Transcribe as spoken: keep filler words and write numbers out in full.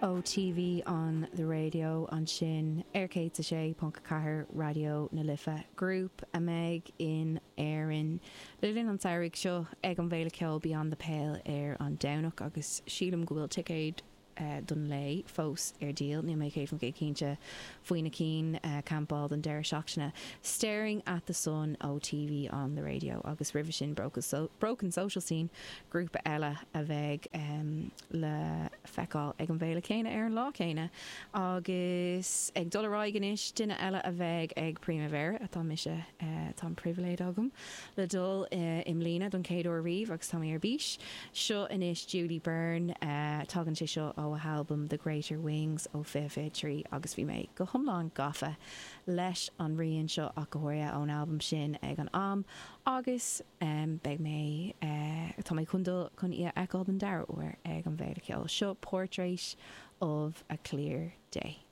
Ó TV on the Radio ansin ar céad a sé ponc a ceathair Raidió na Life grúpa a mbeidh in Éirinn le linn an tsamhraidh seo ag an bhFéile Ceoil Beyond the Pale ar an Domhnach agus sílim go bhfuil ticéid uh, don lae fós ar díol níl mé céad faoin gcéad cinnte faoi na cinn uh, campáil don deireadh seachtaine. Staring at the Sun ó TV on the Radio agus roimhe sin Broken, so Broken Social Scene grúpa eile a bheidh um, le feiceáil ag an bhféile céanna ar an lá céanna agus ag dul ar aghaidh anois duine eile a bheidh ag Primavera atá mise uh, tá an pribhléid agam le dul uh, i mbliana don chéad uair riamh agus tá mé ar bís. Seo anois Julie Byrne uh, tagann sé seo ó a halbum The Greater Wings ó fiche fiche trí agus bhí mé go hiomlán gafa leis an rian seo ach go háirithe ón album sin ag an am agus um, beidh mé uh, tá mé chun dul chun í a fheiceáil den dara huair ag an bhféile ceoil. Seo Portrait of a Clear Day.